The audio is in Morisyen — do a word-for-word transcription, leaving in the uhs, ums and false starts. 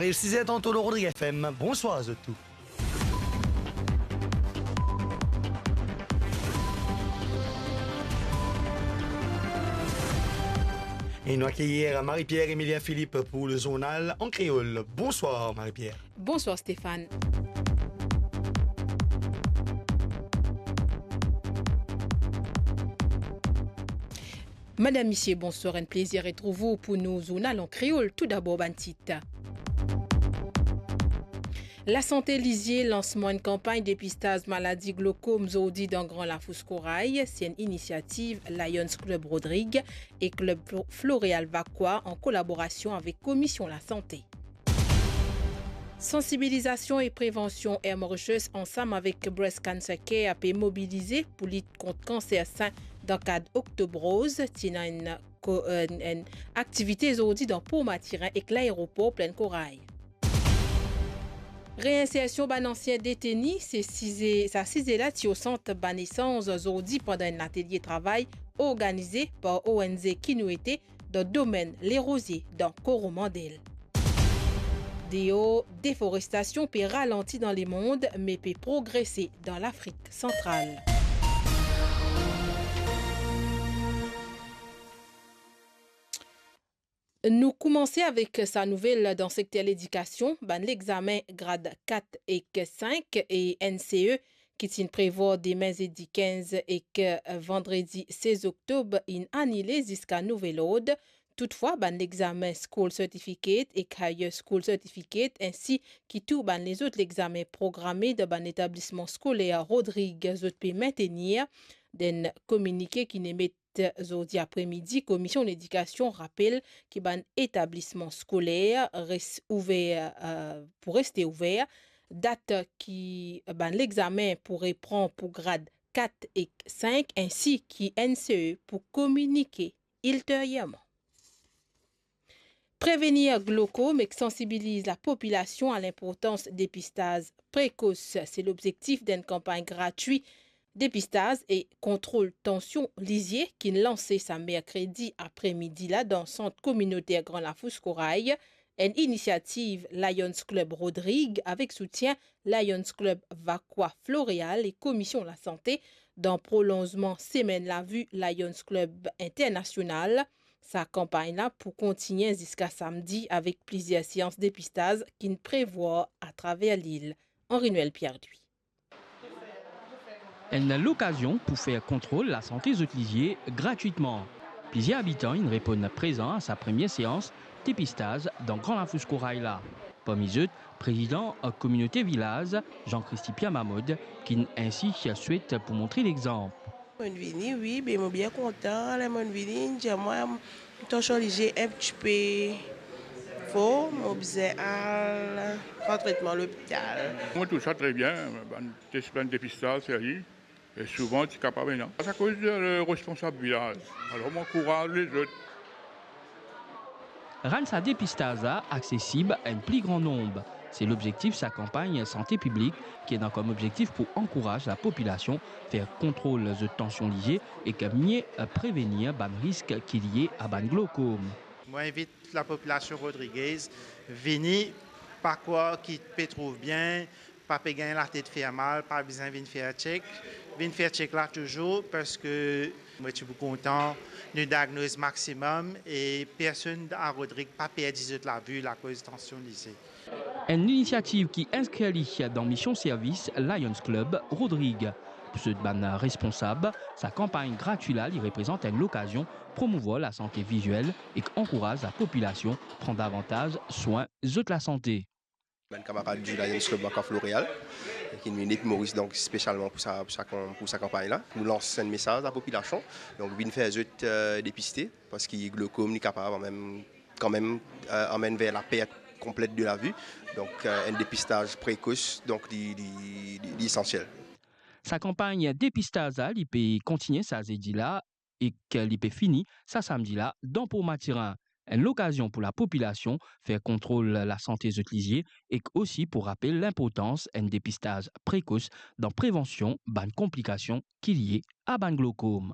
Ariv siz er dan to lor Rodrig F M. Bonswar zot tou. E nou akeyir Marie-Pierre Emilien Philippe pou le zournal an kreol. Bonswar Marie-Pierre. Bonswar Stéphane. Madam, misie, bonswar, enn plezir retrouv ou pou nou zournal an kreol. Toudabor, bann tit. Lasante lizie, lansman enn kanpagn depistaz maladi glokom zordi dan Gran Lafous Koray, se enn inisiativ Lions Club Rodrig e Club Flo-, Floreal Vacoas an kolaborasion avek Komisyon Lasante. Sansibilizasion e prevansion, Air Mauritius ansam avek Breast Cancer Care pe mobilize pou lit kont kanser sin dan kad Oktob Roz. Ti ena enn ko-, enn, enn aktivite zordi dan Por Matirin ek laeropor Plaine Corail. Reinsersion bann ansien deteni, se size, sa size la ti o sant bann esanz zordi pandan enn latelie travay organize par O N G Kinuete dan domenn Lerozie dan Koromandel. Deor, deforestasion pe ralanti dan lemond, me pe progrese dan Lafrik Santral. Nou koumanse avek sa nouvel dan sekter ledikasion. Bann lexamen grad kat ek sink e N C E ki ti finn prevwar demin zedi kinz ek vandredi sez oktob inn anile ziska nouvel ord. Toutfwa, bann lexamen School Certificate ek Higher School Certificate, ensi ki tou bann lezot lexamen programe dan bann letablisman skoler Rodrig, zot pe mintenir. Dan enn kominike ki inn emet zordi apremidi, Komisyon Ledikasion rapel ki bann etablisman skoler res ouver, eh, pou reste ouver. Dat ki bann lexamen pou repran pou grad kat ek sink, ensi ki N C E pou kominike ilteryerman. Prevenir glokom ek sansibiliz lapopilasion a linportans depistaz prekos, se lobzektif dan enn kanpagn gratwi depistaz e kontrol tansion lizie ki inn lanse sa merkredi apremidi la dan Sant Kominoter Gran Lafous Koray, enn inisiativ Lions Club Rodrig avek soutien Lions Club Vacoas Floreal e Komisyon Lasante, dan prolonzman Semenn Lavi Lions Club Internasional. Sa kanpagn la pou kontigne ziska samdi avek plizier seans depistaz ki'nn prevwar atraver lil. Henri Noël Pierre-Louis. Enn lokazion pou fer kontrol lasante zot lizie gratwitman. Plizier abitan inn reponn prezan a sa premie seans depistaz dan Gran Lafous Koray la. Parmi zot, prezidan kominote vilaz, Jean Christy Pierre Mamod, ki'nn ensi swet pou montre lexanp. Mo'nn vini, wi, be mo bien kontan. Ler mo'nn vini, inn dir mwa, mo tansion lizie enn tipe fo, mo bizin al pran tretman lopital. Mo trouv sa tre bien, bann tes, bann depistaz serye, e souvan ti kapav ena. Akoz, eh, responsab vilaz. Alor, mo ankouraz lezot. Rann sa depistaz la aksesib a enn pli gran nonb. Se lobzektif sa kanpagn sante piblik ki ena kom obzektif pou ankouraz lapopilasion fer kontrol zot tansion lizie ek mie prevenir bann risk ki lie a bann glokom. Mo invit lapopilasion rodrigez vini, pa krwar ki pe trouv bien, pa pe gagn latet fer mal, pa bizin vinn fer check. Vinn fer check la touzour, parski mo ti pou kontan nou diagnoz maximum e personn a Rodrig pa perdi zot lavi akoz tansion lizie. Enn inisiativ ki inskrir li dan mision servis Lions Club Rodrig. Pou zot bann responsab, sa kanpagn gratwi la, li reprezant enn lokazion promouvwar lasante viziel ek ankouraz lapopilasion pran davantaz swin zot lasante. Bann kamarad di Lions Club Vacoas Floreal, ki vinn depi Moris, donk, spesialman pou sa, pou sa kan-, pou sa kanpagn la. Nou lans enn mesaz lapopilasion, donk, vinn fer zot, eh, depiste, parski glokom, li kapav mem, kanmem, eh, amenn ver lapert konplet de lavi. Donk, eh, enn depistaz prekos, donk, li, li, li, li esansiel. Sa kanpagn depistaz la, li pe kontigne sa zedi la, ek li pe fini sa samdi la dan Por Matirin. Enn lokazion pou lapopilasion fer kontrol lasante zot lizie ek osi pou rapel linportans enn depistaz prekos dan prevansion bann konplikasion ki lie a bann glokom.